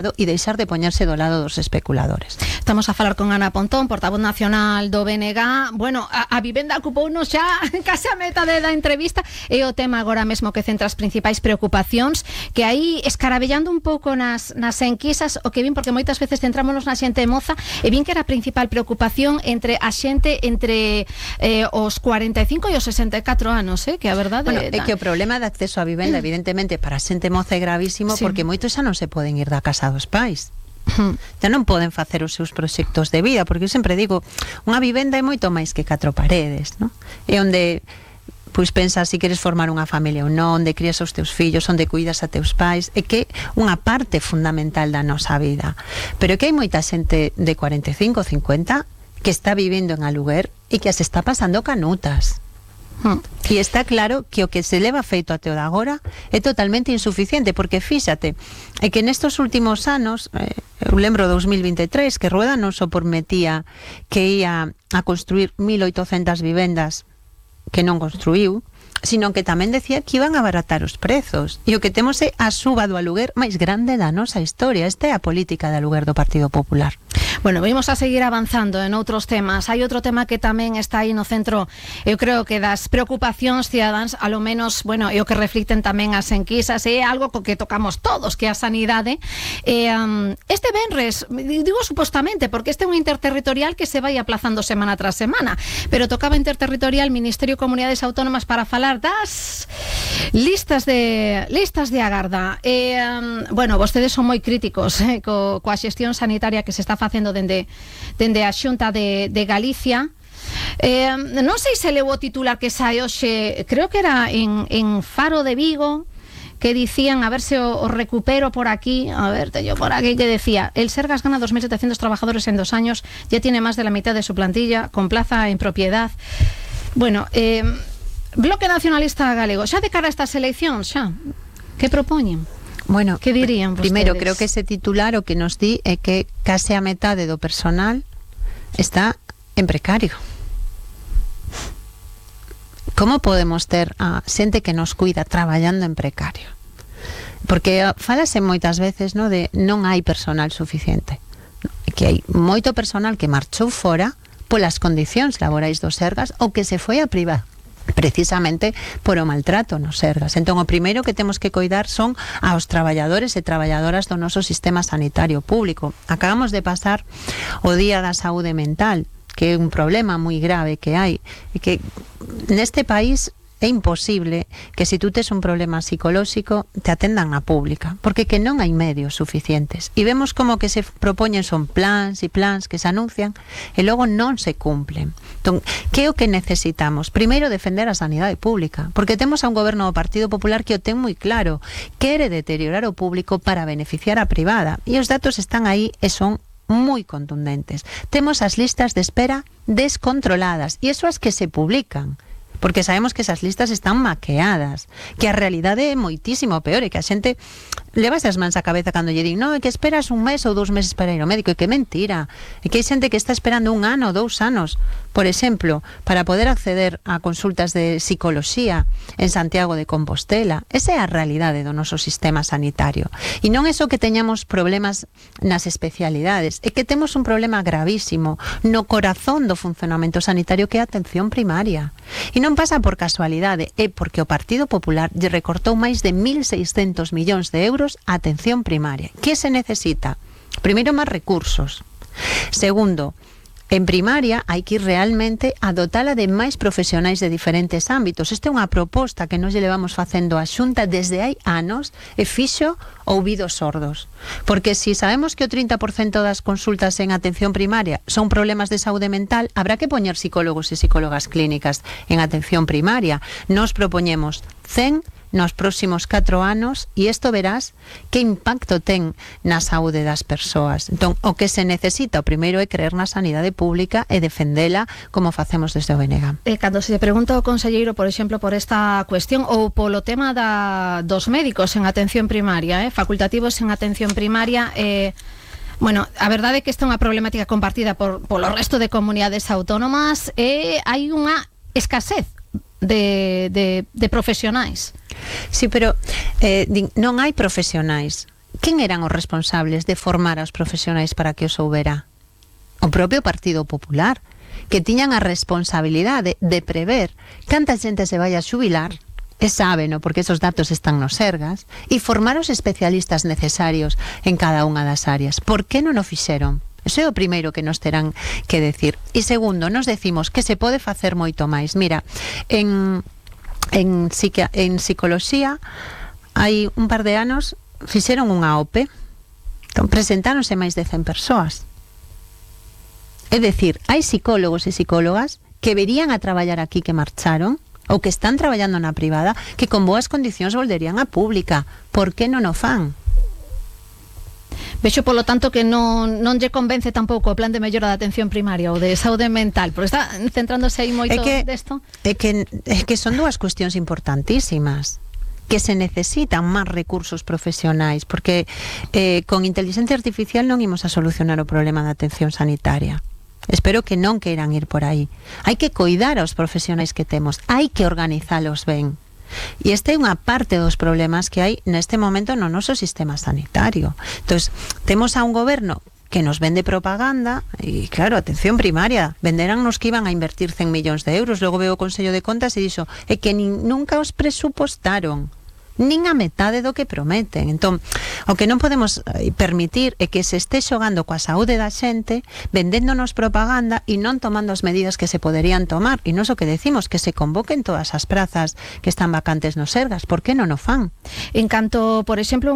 e deixar de poñerse do lado dos especuladores. Estamos a falar con Ana Pontón, portavoz nacional do BNG. Bueno, a vivenda ocupounos xa case a metade da entrevista, e o tema agora mesmo que centra as principais preocupacións, que aí escarabellando un pouco nas enquisas, o que vin, porque moitas veces centrámonos na xente moza, e vin que era a principal preocupación entre a xente entre os 45 e os 64 anos, que a verdade... Bueno, é que o problema de acceso á vivenda, evidentemente, para a xente moza é gravísimo, sí, porque moitos xa non se poden ir da casa dos pais. Ya non poden facer os seus proxectos de vida, porque eu sempre digo, unha vivenda é moito máis que 4 paredes, non? É onde pois pensas se queres formar unha familia ou non, onde crías os teus fillos, onde cuidas a teus pais, é que unha parte fundamental da nosa vida. Pero que hai moita xente de 45, 50 que está vivendo en aluguer e que as está pasando canutas. E está claro que o que se leva feito até o de agora é totalmente insuficiente, porque fíxate, é que nestos últimos anos, eu lembro 2023, que Rueda non só prometía que ia a construir 1.800 vivendas que non construiu, sino que tamén decía que iban a abaratar os prezos. E o que temos é a suba do aluguer máis grande da nosa historia. Esta é a política de aluguer do Partido Popular. Bueno, vamos a seguir avanzando en outros temas. Hai outro tema que tamén está aí no centro, eu creo que das preocupacións cidadáns, a lo menos, bueno, é o que reflicten tamén as enquisas, é algo co que tocamos todos, que é a sanidade. Este venres, digo supostamente, porque este é un interterritorial que se vai aplazando semana tras semana, pero tocaba interterritorial Ministerio de Comunidades Autónomas para falar das listas de agarda. Bueno, vostedes son moi críticos coa xestión sanitaria que se está facendo dende a Xunta de Galicia. Non sei se leu o titular que sai hoxe, creo que era en Faro de Vigo, que dicían, a ver se o recupero por aquí, a ver, teño por aquí, que decía, el Sergas gana 2.700 trabajadores en 2 años, ya tiene más de la mitad de su plantilla, con plaza en propiedad. Bueno, Bloque Nacionalista Galego, xa de cara a estas eleccións, xa, que propoñen? Bueno, que dirían vostedes? Primeiro, creo que ese titular o que nos di é que case a metade do personal está en precario. Como podemos ter a xente que nos cuida traballando en precario? Porque falase moitas veces, no, de non hai personal suficiente, que hai moito personal que marchou fora polas condicións laborais dos Sergas ou que se foi a privada precisamente por o maltrato nos Sergas. Entón, o primeiro que temos que coidar son aos traballadores e traballadoras do noso sistema sanitario público. Acabamos de pasar o Día da Saúde Mental, que é un problema moi grave que hai, e que neste país é imposible que se tú tes un problema psicolóxico te atendan na pública, porque que non hai medios suficientes. E vemos como que se propoñen son plans e plans que se anuncian e logo non se cumplen. Entón, que é o que necesitamos? Primeiro, defender a sanidade pública, porque temos a un goberno do Partido Popular que o ten moi claro, quere deteriorar o público para beneficiar a privada, e os datos están aí e son moi contundentes. Temos as listas de espera descontroladas, e iso as que se publican, porque sabemos que esas listas están maqueadas, que a realidade é moitísimo peor, e que a xente levas as mans á cabeza cando lle din, no, é que esperas 1 mes ou 2 meses para ir ao médico, e que mentira, e que hai xente que está esperando 1 ano ou 2 anos, por exemplo, para poder acceder a consultas de psicoloxía en Santiago de Compostela. Esa é a realidade do noso sistema sanitario, e non é só que teñamos problemas nas especialidades, é que temos un problema gravísimo no corazón do funcionamento sanitario, que é a atención primaria, e non pasa por casualidade, é porque o Partido Popular lle recortou máis de 1.600 millóns de euros a atención primaria. Que se necesita? Primeiro, máis recursos. Segundo, en primaria hai que ir realmente a dotala de máis profesionais de diferentes ámbitos. Esta é unha proposta que nos levamos facendo a Xunta desde hai anos e fixo ouvidos sordos. Porque si sabemos que o 30% das consultas en atención primaria son problemas de saúde mental, habrá que poñer psicólogos e psicólogas clínicas en atención primaria. Nos propoñemos 100 nos próximos 4 anos, e isto verás que impacto ten na saúde das persoas. Entón, o que se necesita, o primeiro, é creer na sanidade pública e defendela como facemos desde o BNG. Cando se pregunta ao conselleiro, por exemplo, por esta cuestión ou polo tema dos médicos en atención primaria, facultativos en atención primaria, bueno, a verdade é que esta é unha problemática compartida polo resto de comunidades autónomas, e hai unha escasez de profesionais. Sí, pero non hai profesionais. quen eran os responsables de formar aos profesionais para que os soubera? O propio Partido Popular, que tiñan a responsabilidade de prever canta xente se vai a xubilar, e sábeno, porque esos datos están no Sergas, e formar os especialistas necesarios en cada unha das áreas. Por que non o fixeron? Eso é o primeiro que nos terán que decir. E segundo, nos decimos que se pode facer moito máis. Mira, en psicoloxía hai un par de anos fixeron unha OPE, entón presentáronse máis de 100 persoas. É dicir, hai psicólogos e psicólogas que verían a traballar aquí que marcharon ou que están traballando na privada que con boas condicións volverían a pública. Por que non o fan? Vexo, polo tanto, que non lle convence tampouco o plan de mellora da atención primaria ou de saúde mental, porque está centrándose aí moito desto. É que son dúas cuestións importantísimas, que se necesitan máis recursos profesionais, porque con inteligencia artificial non imos a solucionar o problema da atención sanitaria. Espero que non queiran ir por aí. Hai que coidar aos profesionais que temos, hai que organizalos ben. E esta é unha parte dos problemas que hai neste momento no noso sistema sanitario. Entón, temos a un goberno que nos vende propaganda e, claro, atención primaria, venderannos que iban a invertir 100 millóns de euros, logo veo o Consello de Contas e dixo é que nunca os presupostaron, nin a metade do que prometen. Entón, o que non podemos permitir é que se este xogando coa saúde da xente, vendéndonos propaganda e non tomando as medidas que se poderían tomar. E non o que decimos, que se convoquen todas as prazas que están vacantes nos Sergas. Por que non o fan? En canto, por exemplo,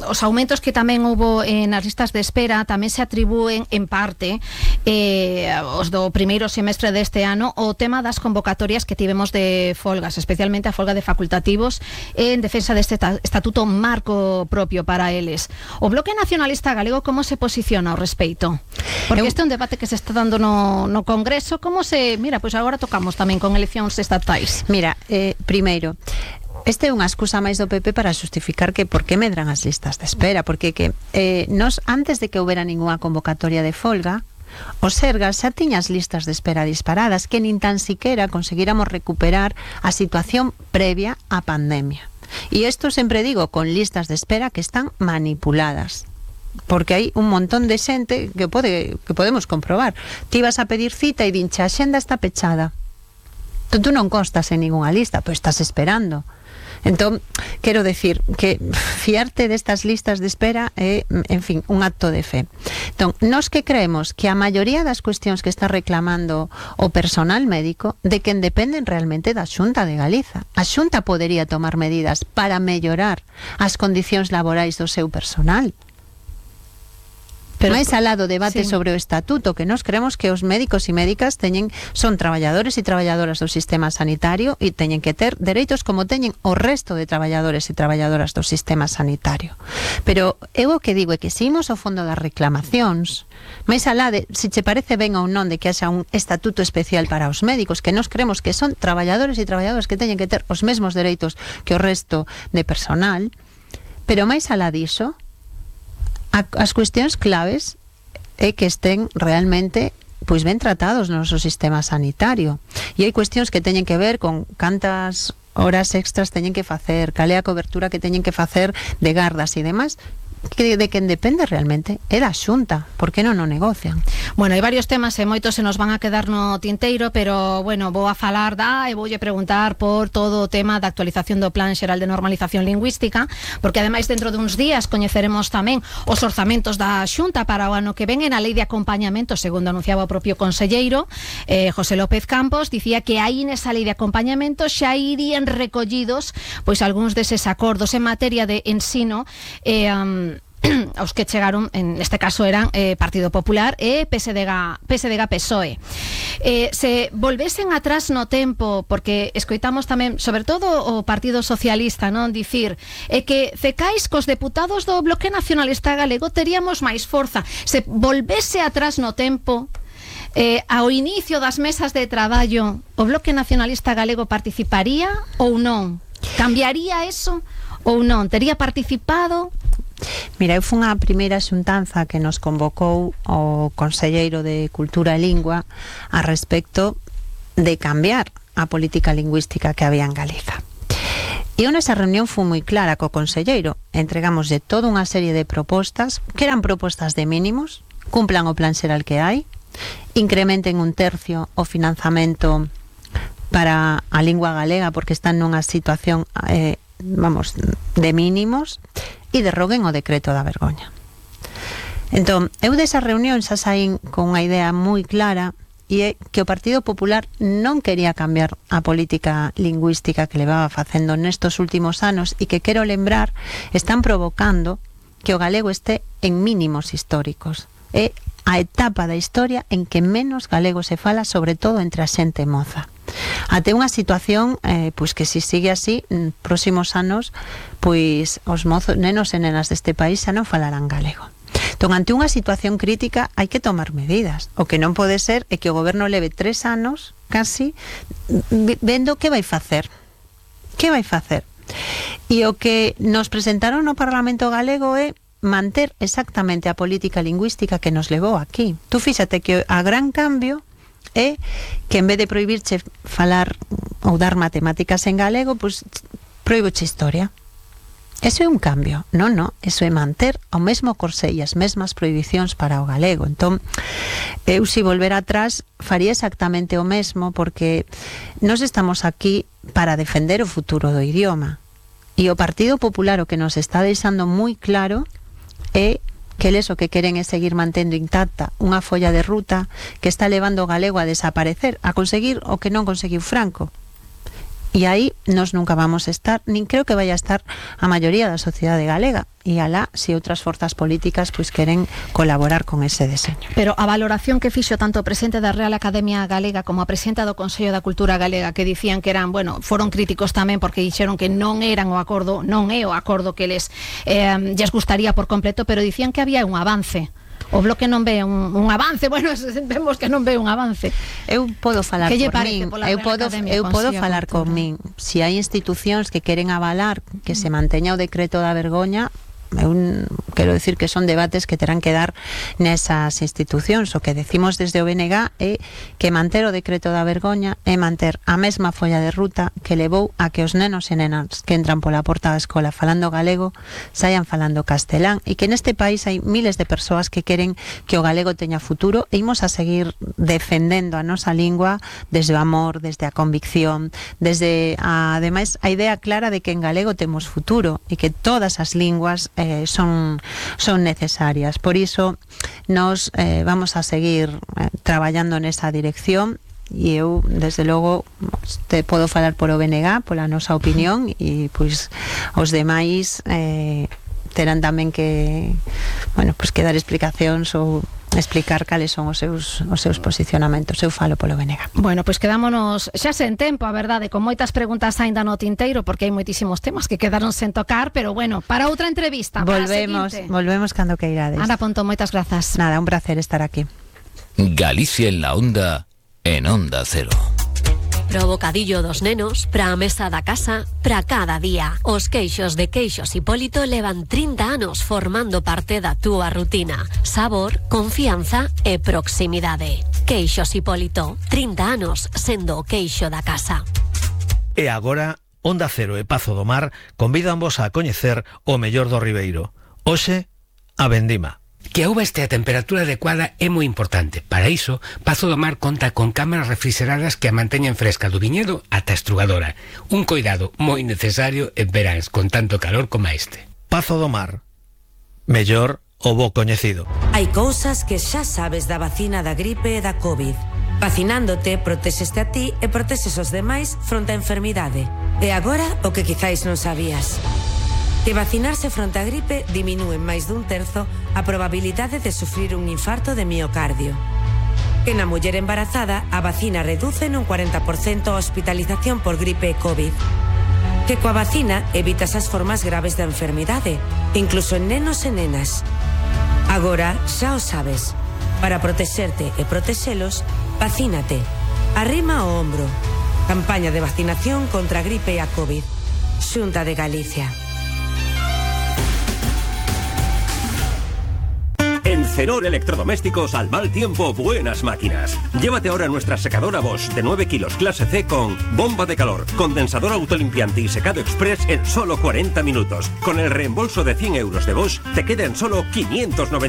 os aumentos que tamén houbo nas listas de espera tamén se atribúen en parte os do primeiro semestre deste ano o tema das convocatorias que tivemos de folgas, especialmente a folga de facultativos en defensa deste estatuto marco propio para eles. O Bloque Nacionalista Galego como se posiciona ao respecto? Porque este é un debate que se está dando no Congreso. Como se... Mira, pois agora tocamos tamén con eleccións estatais. Mira, primeiro, este é unha excusa máis do PP para justificar que por que medran as listas de espera, porque nos, antes de que houbera ninguna convocatoria de folga, o Sergas xa tiña as listas de espera disparadas, que nin tan siquiera conseguíramos recuperar a situación previa á pandemia. E isto sempre digo, con listas de espera que están manipuladas, porque hai un montón de xente que podemos comprobar. Ti vas a pedir cita e dinche a xenda está pechada. Tú non constas en ninguna lista, pois estás esperando. Entón, quero decir que fiarte destas listas de espera é, en fin, un acto de fe. Entón, nós que creemos que a maioría das cuestións que está reclamando o personal médico de quen dependen realmente da Xunta de Galiza. A Xunta podería tomar medidas para mellorar as condicións laborais do seu personal. Pero máis alá do debate sobre o estatuto, que nós creemos que os médicos e médicas son traballadores e traballadoras do sistema sanitario e teñen que ter dereitos como teñen o resto de traballadores e traballadoras do sistema sanitario. Pero eu o que digo é que se imos ao fondo das reclamacións, máis alá de se che parece ben ou non de que haxa un estatuto especial para os médicos, que nós creemos que son traballadores e traballadoras que teñen que ter os mesmos dereitos que o resto de personal, pero máis alá diso, as cuestións claves é que estén realmente pois ben tratados no noso sistema sanitario. E hai cuestións que teñen que ver con cantas horas extras teñen que facer, cal é a cobertura que teñen que facer de gardas e demais, que de quen depende realmente é da Xunta. Por que non o negocian? Bueno, hai varios temas e moitos se nos van a quedar no tinteiro, pero, bueno, vou a falar e voulle preguntar por todo o tema da actualización do Plan Xeral de Normalización Lingüística, porque ademais dentro duns días coñeceremos tamén os orzamentos da Xunta para o ano que ven e na lei de acompañamento, segundo anunciaba o propio conselleiro José López Campos, dicía que aí nesa lei de acompañamento xa irían recollidos pois algúns deses acordos en materia de ensino aos que chegaron, en este caso eran Partido Popular e PSDG-PSOE. Se volvesen atrás no tempo, porque escoitamos tamén, sobre todo o Partido Socialista, non dicir que cecais cos deputados do Bloque Nacionalista Galego teríamos máis forza. Se volvese atrás no tempo, ao inicio das mesas de traballo, o Bloque Nacionalista Galego participaría ou non? Cambiaría eso ou non? Tería participado? Mira, eu fun a primeira xuntanza que nos convocou o Conselleiro de Cultura e Lingua a respecto de cambiar a política lingüística que había en Galiza. E eu nesa reunión fui moi clara co conselleiro. Entregámoslle toda unha serie de propostas, que eran propostas de mínimos, cumplan o plan xeral que hai, incrementen 1/3 o financiamento para a lingua galega porque están nunha situación de mínimos, e derroguen o decreto da vergoña. Entón, eu desa reunión xa saín con unha idea moi clara, e é que o Partido Popular non quería cambiar a política lingüística que levaba facendo nestos últimos anos e que, quero lembrar, están provocando que o galego este en mínimos históricos. É a etapa da historia en que menos galego se fala, sobre todo entre a xente moza. Até unha situación pois que se sigue así, próximos anos, pois os mozos, nenos e nenas deste país xa non falarán galego. Entón, ante unha situación crítica hai que tomar medidas. O que non pode ser é que o goberno leve 3 anos casi vendo que vai facer. Que vai facer? E o que nos presentaron no Parlamento galego é manter exactamente a política lingüística que nos levou aquí. Tú fíxate que a gran cambio é que en vez de prohibirche falar ou dar matemáticas en galego, pois proíboche historia. Eso é un cambio. Non, eso é manter o mesmo corsé e as mesmas prohibicións para o galego. Entón, eu se volver atrás faría exactamente o mesmo, porque nós estamos aquí para defender o futuro do idioma. E o Partido Popular o que nos está deixando moi claro é que eles o que queren é seguir mantendo intacta unha folla de ruta que está levando o galego a desaparecer, a conseguir o que non conseguiu Franco. E aí nós nunca vamos a estar, nin creo que vaya a estar a maioría da sociedade galega. E alá, se outras forzas políticas pois queren colaborar con ese deseño. Pero a valoración que fixo tanto o presidente da Real Academia Galega como a presidenta do Consello da Cultura Galega, que dicían que eran, foron críticos tamén porque dixeron que non eran o acordo, non é o acordo que lles gustaría por completo, pero dicían que había un avance. O Bloque non ve un avance, vemos que non ve un avance. Eu podo falar por min, eu podo falar con min. Se hai institucións que queren avalar que se manteña o decreto da vergoña, eu quero decir que son debates que terán que dar nesas institucións. O que decimos desde o BNG é que manter o decreto da vergoña é manter a mesma folla de ruta que levou a que os nenos e nenas que entran pola porta da escola falando galego saian falando castelán, e que neste país hai miles de persoas que queren que o galego teña futuro, e imos a seguir defendendo a nosa lingua desde o amor, desde a convicción, desde ademais a idea clara de que en galego temos futuro e que todas as linguas son necesarias. Por iso nos vamos a seguir traballando nesa dirección, e eu desde logo te podo falar por o BNG, pola nosa opinión, e pois os demais terán tamén que que dar explicacións ou explicar cales son os seus posicionamentos. Eu falo polo BNG. Pois quedámonos xa sen tempo, a verdade, con moitas preguntas aínda no tinteiro, porque hai moitísimos temas que quedaron sen tocar, pero para outra entrevista. Volvemos cando queirades. Ana Pontón, moitas grazas. Nada, un placer estar aquí. Galicia en la onda, en Onda Cero. Pro bocadillo dos nenos, pra a mesa da casa, pra cada día. Os queixos de Queixos Hipólito levan 30 anos formando parte da túa rutina. Sabor, confianza e proximidade. Queixos Hipólito, 30 anos sendo o queixo da casa. E agora, Onda Cero e Pazo do Mar convídanvos a coñecer o mellor do Ribeiro. Hoxe, a vendima. Que a uva este a temperatura adecuada é moi importante. Para iso, Pazo do Mar conta con cámaras refrigeradas que a manteñen fresca do viñedo ata a estrugadora. Un coidado moi necesario en veráns con tanto calor como este. Pazo do Mar. Mellor o bo coñecido. Hai cousas que xa sabes da vacina da gripe e da COVID. Vacinándote, protexeste a ti e protexes os demais fronte a enfermidade. E agora, o que quizáis non sabías. Que vacinarse fronte a gripe diminúe en máis dun terzo a probabilidade de sufrir un infarto de miocardio. Que na muller embarazada a vacina reduce nun 40% a hospitalización por gripe e COVID. Que coa vacina evitas as formas graves da enfermidade, incluso en nenos e nenas. Agora xa o sabes. Para protexerte e protexelos, vacínate. Arrima o ombro. Campaña de vacinación contra a gripe e a COVID. Xunta de Galicia. En Cenor Electrodomésticos, al mal tiempo, buenas máquinas. Llévate ahora nuestra secadora Bosch de 9 kilos clase C con bomba de calor, condensador autolimpiante y secado express en solo 40 minutos. Con el reembolso de 100 euros de Bosch, te queda en solo 590.